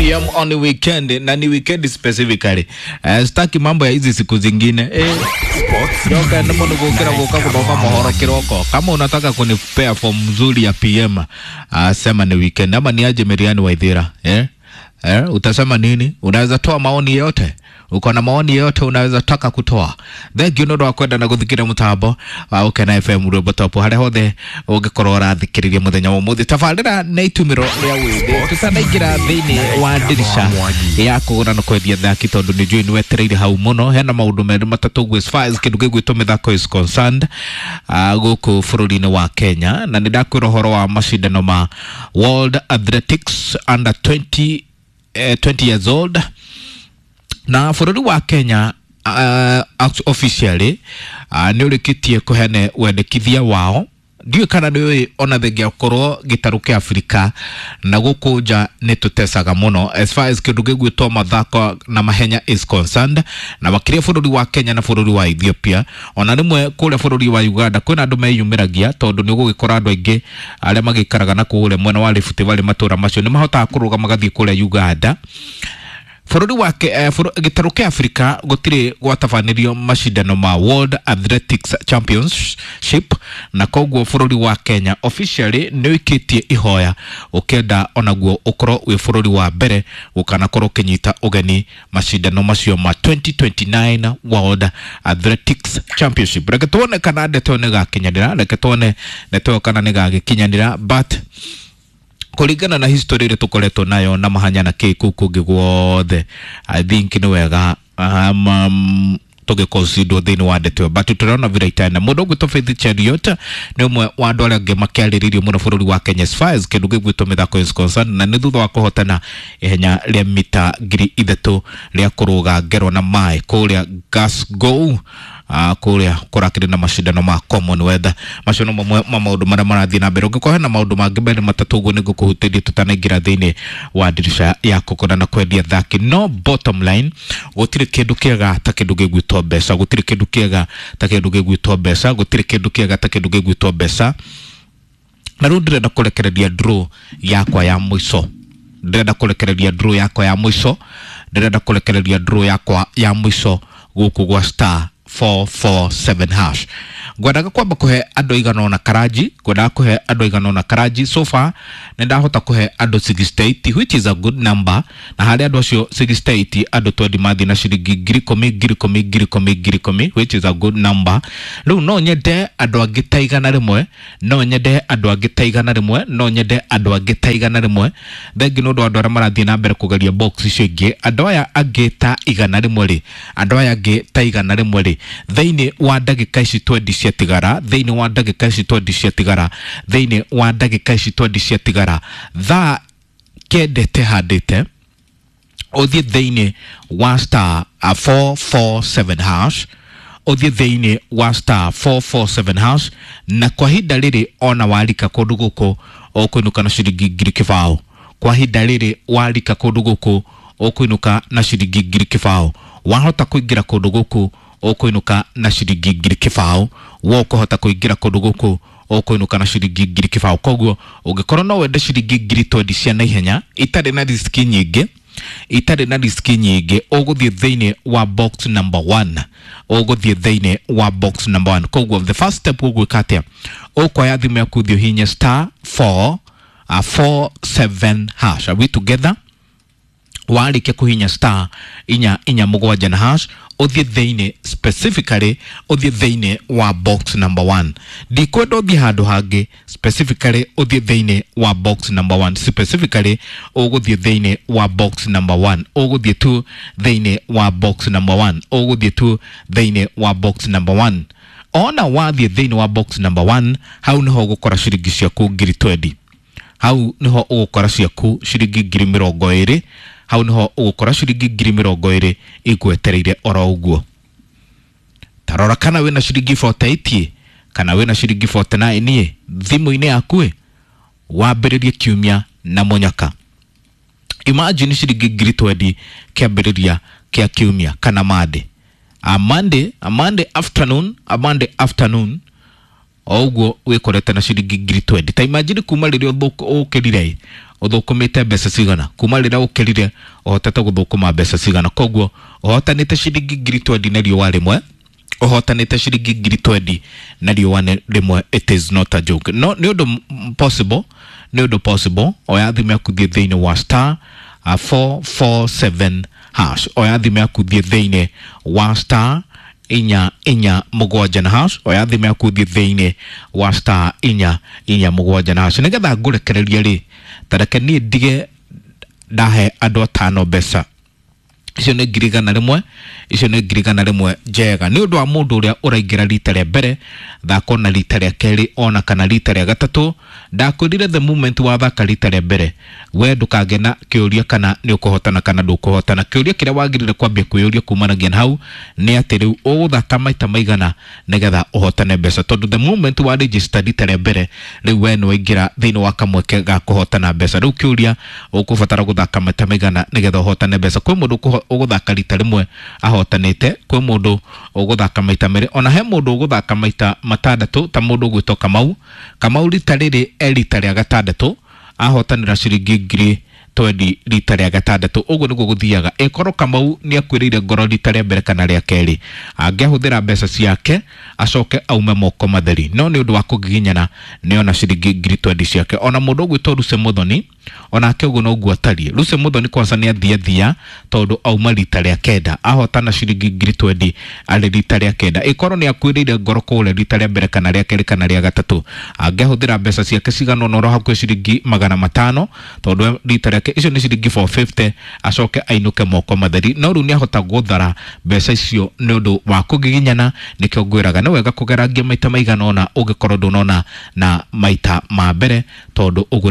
PM on weekend, na ni weekend specifically. Sitaki mambo ya hizi siku zingine. Yoka nimo nigukira guka kuthoma mohoro kiroko. Kama unataka kunipea form nzuri ya PM, sema ni weekend ama ni aje Miriani Waithira, eh? Utasema nini? Unaweza toa maoni yote. Uko na maoni yote unaweza taka kutoa. Thank you ndu wa kwenda na guthikira mutambo wa Ukena FM rwimbo top haria hothe ungikorwo urathikiriria muthenya wa umuthi. Tabarira na itumiro ria withi tutanaingira thiini wa ndirisha ya kugura na kwendia thaki tondu ni njui ni wetereire hau muno. Hena maundu meri matatu guo as far as kindu gigwitwo mithako is concerned guku bururi-ini wa Kenya, na ni ndakwira uhoro wa macindano ma World Athletics under 20 20 years old, na bũrũri wa Kenya officially nĩ ũrĩkĩtie kũheana wendekithia wao. Ndiũĩ kana nĩ ũĩ ona thengia korwo gĩtarũ kĩa Afrika na gũkũ nja nĩ tũtecaga mũno as far as kĩndũ gĩgwĩtwo mathako na mahenya is concerned, na makĩria bũrũri wa Kenya na bũrũri wa Ethiopia. Ona rĩmwe kũrĩa bũrũri wa Uganda kwĩna andũ meyumĩragia, tondũ nĩ ũgũgĩkora andũ aingĩ arĩa magĩikaraga na kũrĩa mwena wa Rift Valley matũra macio nĩ mahotaga kũrũga magathiĩ kũrĩa Uganda. Bũrũri wa gĩtarũ kĩa Afrika gũtirĩ gwatabanĩrio macindano ma World Athletics Championship, na koguo bũrũri wa Kenya officially nĩ ũikĩtie ihoya ũkĩenda onaguo ũkorwo wĩ bũrũri wa mbere gũkanakorwo ũkĩnyita ũgeni macindano macio ma 2029 World Athletics Championship. Reke tuone kana ndeto ĩyo nĩgakinyanĩra, reke tuone ndeto ĩyo kana nĩgagĩkinyanĩra, but kũringana na history ĩrĩa tũkoretwo nayo na mahanya na kĩ kũu kũngĩ guothe, I think nĩ wega tũgĩconsider thĩinĩ wa ndeto ĩyo, but tũrona vile itaenda. Mũndũ ũgwĩtwo Faith Cheruiyot nĩ ũmwe wa andũ arĩa angĩ makĩarĩrĩirio mũno bũrũri wa Kenya as far as kĩndũ gĩgwĩtwo mĩthako is concerned, na nĩ thutha wa kũhotana ihenya rĩa mita 3000 rĩa kũrũga ngero na maĩ kũrĩa Glasgow, kũrĩa kũrakĩrĩ na macindano ma Commonwealth. Macio no mamwe ma maũndũ marĩa marathiĩ na mbere. Ũngĩkorwo hena maũndũ mangĩ merĩ matatũ ũguo nĩngũkũhutĩria tũtanaingĩra thĩinĩ wa ndirisha ya kũgũra na kwendia thaki. No bottom line, gũtirĩ kĩndũ kĩega ta kĩndũ gĩgwĩtwo mbeca, gũtirĩ kĩndũ kĩega ta kĩndũ gĩgwĩtwo mbeca, gũtirĩ kĩndũ kĩega ta kĩndũ gĩgwĩtwo mbeca. Na rĩu ndĩrenda kũrekereria draw yakwa ya mũico, ndĩrenda kũrekereria draw yakwa ya mũico, ndĩrenda kũrekereria draw yakwa ya mũico gũkũ gwa star 447 hash. Ngwendaga kwamba kũhe andũ aigana ũna karanji, ngwendaga kũhe andũ aigana ũna karanji. So far nĩ ndahota kũhe andũ 68, which is a good number, na harĩ andũ acio 68 andũ 20 mathiĩ na ciringi 10,000 10,000 10,000 10,000, which is a good number. Rĩu no nyende andũ angĩ ta 100, no nyende andũ angĩ ta 100, no nyende andũ angĩ ta 100. Thengi nĩ ũndũ wa andũ arĩa marathiĩ na mbere kũgeria box icio ingĩ, andũ aya angĩ ta 100 rĩ, andũ aya angĩ ta 100 rĩ, thĩinĩ wa ndagĩka ici 20 ciatigara, thĩinĩ wa ndagĩka ici 20 ciatigara, thĩinĩ wa ndagĩka ici 20 ciatigara, thaa 9 tehandĩte ũthiĩ thĩinĩ wa star 447 hash, ũthiĩ thĩinĩ wa star 447 hash, na kwa ihinda rĩrĩ ona warika kũndũ gũkũ ũkũinũka na ciringi 20,000. Kwa ihinda rĩrĩ warika kũndũ gũkũ ũkũinũka na ciringi 20,000. Wahota kũingĩra kũndũ gũkũ ũkũinũka na ciringi 20,000. Wo ũkũhota kũingĩra kũndũ gũkũ ũkũinũka na ciringi 20,000. Koguo ũngĩkorwo no wende ciringi 20,000 cia naihenya itarĩ na riski nyingĩ, itarĩ na riski nyingĩ, ũgũthiĩ thĩinĩ wa box number 1, ũgũthiĩ thĩinĩ wa box number 1. Koguo the first step ũgwĩka atĩa? Ũkoya thimũ yaku ũthiĩ ũhihinye star 4 47 hash. Are we together? Warĩkia kũhihinya star 447 na hash, ũthiĩ thĩinĩ specifically ũthiĩ thĩinĩ wa box number 1. Ndikwenda ũthiĩ handũ hangĩ, specifically ũthiĩ thĩinĩ wa box number 1, specifically ũgũthiĩ thĩinĩ wa box number 1, ũgũthiĩ tu thĩinĩ wa box number 1, ũgũthiĩ tu thĩinĩ wa box number 1. Ona wathiĩ thĩinĩ wa box number 1, hau nĩho ũgũkora ciringi ciaku 20,000, hau nĩho ũgũkora ciaku ciringi 20,000, hau nĩho ũgũkora ciringi 20,000 igwetereire oro ũguo. Tarora kana wĩna ciringi 48 kana wĩna ciringi 49 thimũ-inĩ yaku, wambĩrĩrie kiumia na mũnyaka. Imagine ciringi 20,000 kĩambĩrĩria kĩa kiumia kana Monday. A Monday, a Monday afternoon, a Monday afternoon o ũguo wĩkorete na ciringi 20,000. Ta imagine kuma rĩrĩa ũkĩrire Ũthũkũmĩte mbeca cigana kuma rĩrĩa ũkĩrire? Ũhotete gũthũkũma mbeca cigana? Koguo ũhotanĩte ciringi 20,000 na riũa rĩmwe, ũhotanĩte ciringi 20,000 na riũa rĩmwe. It is not a joke. No nĩ ũndũ possible, nĩ ũndũ possible. Oya thimũ yaku, thiĩ thĩinĩ wa star 447 hash. Oya thimũ yaku, thiĩ thĩinĩ wa star 447 na hash. Oya thimũ yaku, thiĩ thĩinĩ wa star 447 na hash. Nĩgetha ngũrekererie rĩ, tareke niĩ ndige ndahe andũ atano mbeca. Icio nĩ 100,000, icio nĩ 100,000 njega. Nĩ ũndũ wa mũndũ ũrĩa ũraingĩra rita rĩa mbere, thaka ona rita rĩa kerĩ, ona kana rita rĩa gatatũ. Ndakwĩrire the moment wathaka rita rĩa mbere, we ndũkagĩa na kĩũria kana nĩ ũkũhotana kana ndũkũhotana. Kĩũria kĩrĩa wagĩrĩire kwambia kwĩyũria kumanagia na hau nĩ atĩ rĩu ũgũthaka maita maigana nĩgetha ũhotane mbeca, tondũ the moment wa register rita rĩa mbere, rĩu we nĩ waingĩra thĩinĩ wa kamweke ga kũhotana mbeca. Rĩu kĩũria, ũkũbatara gũthaka maita maigana nĩgetha ũhotane mbeca? Kwĩ mũndũ ũgũthaka rita rĩmwe ahotanĩte, kwĩ mũndũ ũgũthaka maita merĩ, ona he mũndũ ũgũthaka maita matandatũ, ta mũndũ ũgwĩtwo Kamau. Kamau rita rĩrĩ e rita rĩa gatandatũ, ahotanĩra ciringi 20,000 rita rĩa gatandatũ. Ũguo nĩguo gũthiaga. Ĩkorwo Kamau nĩ akuĩrĩire ngoro rita rĩa mbere kana rĩa kerĩ, angĩahũthĩra mbeca ciake acoke aume moko matheri, no nĩ ũndũ wa kũgiginyana nĩ ona ciringi 20,000 ciake. Ona mũndũ ũgwĩtwo Ruse Muthoni, onake ũguo noguo atariĩ. Ruse Muthoni kwanza nĩ athia thia, tondũ auma rita rĩa kenda, ahotana ciringi 20,000 arĩ rita rĩa kenda. Ĩkorwo nĩ akuĩrĩire ngoro kũrĩa rita rĩa mbere kana rĩa kerĩ kana rĩa gatatũ, angĩahũthĩra mbeca ciake cigana ũna oro hakuhĩ ciringi 500, tondũ rita rĩake icio nĩ ciringi 450, acoke ainũke moko matheri. No rĩu nĩ ahota gũthara mbeca icio nĩ ũndũ wa kũgiginyana. Nĩkĩo ngwĩraga nĩ wega kũgerangia maita maigana ũna ũngĩkorwo ndũnona na maita ma mbere, tondũ ũguo nĩguo.